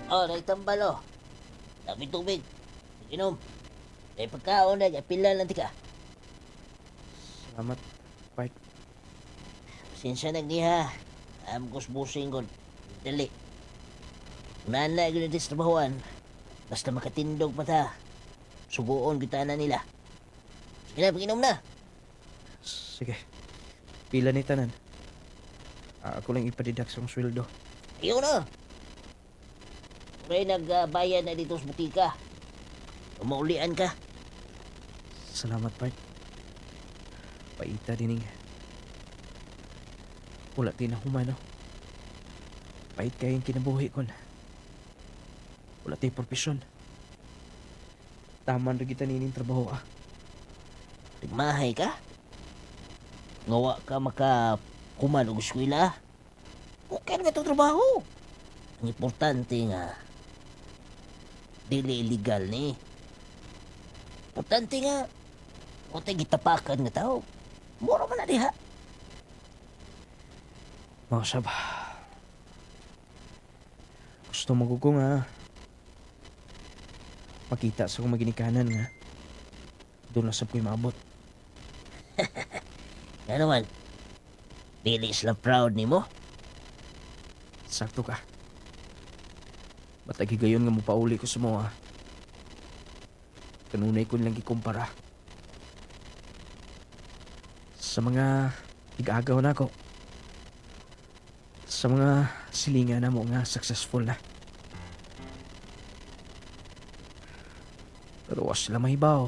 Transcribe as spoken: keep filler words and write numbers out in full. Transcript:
Oh, naitambal oh. Dami tubig. Inom. May pagkaon na, pila lang tika. Salamat, part. Pasensya na niha. Am kusbusing ko. Dali. Nana gyud sa trabahoan. Basta makatindog pa ta. Suguon kita na nila. Sige na, pag-inom na. Sige. Pila ni tanan. Ah, ako lang ipa-deduct sa akong sweldo. Ayaw na. May nagbayad na dito sa butika. Maulian ka. Salamat, part. Paita dining. Wala din na humano. Pait kayong kinabuhi kon. Wala tay profesyon. Taman ra kita nining trabaho ah. Nagmahay ka? Ngawa ka maka kuman og eskwela. Okay naman itong trabaho. Ang importante nga, dili illegal ni. Importante nga, wa tay gitapakan nga tao. Mura man na diha. Mga sab. Gusto mo ko nga makita sa akong maginikanan nga doon na sab ko'y maabot. Nga naman, dili sila proud nimo. Sakto ka. Matag higayon nga mopauli ko sa mga. Kanunay ko nilang gikumpara. Sa mga igagaw na ako. Sa mga silingan na mo nga successful na. Pero wa sila mahibaw.